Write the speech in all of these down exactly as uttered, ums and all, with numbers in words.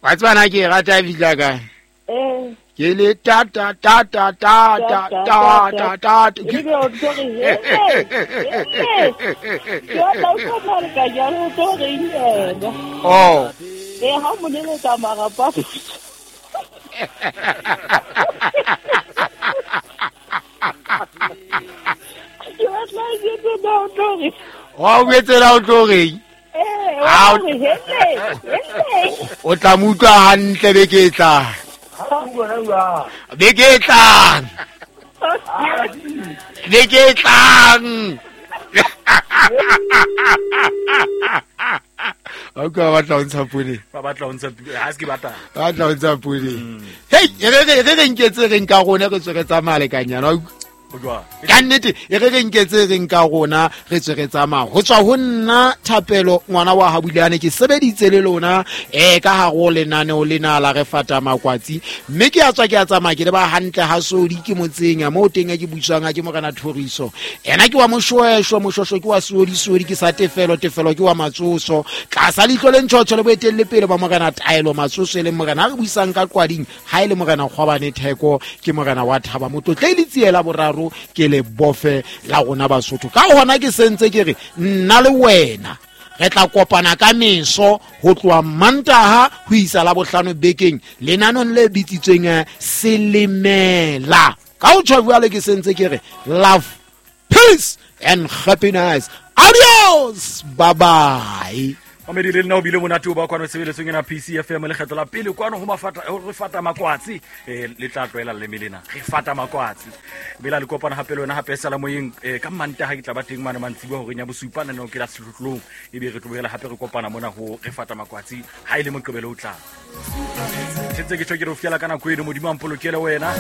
Wa tseba na ke e rata e fihla kae? Ke le ta ta ta ta ta ta ta ta ta. Oh. Eh, ha mo leletsa marapa. Ke batla ke tsena o tlo reng. Wa o etsela o tlo reng? Eh, o re hele, hele. O tla mo utlwa hantle beke e tlang. Beke e tlang. Beke e tlang. A ka batla ho ntsha pone. Ba batla ho ntsha ha se ke batla. Ba batla ho ntsha pone. Hey, e re re re nketse re nka rona re tswe re tsamaya lekanyana. Ka nnete e re re nketse re nka rona re tswe re tsamaya. Ho tswa ho nna Thapelo ngwana wa Habulane ke sebeditse le lona eh ka hare ho lenaneo lena la re fata makwatsi mme ke a tswa ke a tsamaya ke le ba hantle ha sodi ke motseng mo teng ke butswang ke morena Thoriso. Ena ke wa Moshoesho, Moshosho ke wa Sodi, Sodi ke sa Tefelo, Tefelo ke wa Matsoso. Tlasa leihlo le ntjhotjho le boetelle pele ba morena Taelo Matsoso e leng morena a re buisang ka qwading ha e le morena Kgwabane Theko ke morena wa Thaba Motlotle le tsiela boraro ke le bofe la rona Basotho. Ka hona ke sentse ke re nna le wena re tla kopana ka meso ho tloha Mantaha ho isa la bohlano bekeng lenanong le bitsitsweng Selemela. Ka ho tjho jwale ke sentse ke re love, peace and happiness. Adios, bye bye. Mamedi le nna o bile monate o ba kwano tshebeletsong ena P C F M lekgetlo la pele kwano ho mafata ho re fata makwatsi eh le tla tlwaela le melena re fata makwatsi bela le kopana hape le wena hape sala moyeng ka Mantaha ke tla ba teng mane mantsibuya hore nya bosupa nna ke la sehlohlolong ebe re tlohela hape re kopana mona ho re fata makwatsi ha ile moqebelo o tla sentse ke tjho ke re o fiela ka nako eno Modimo a mpolokele wena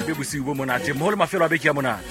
be bosiu bo monate mo le mafelo a beke ya monate.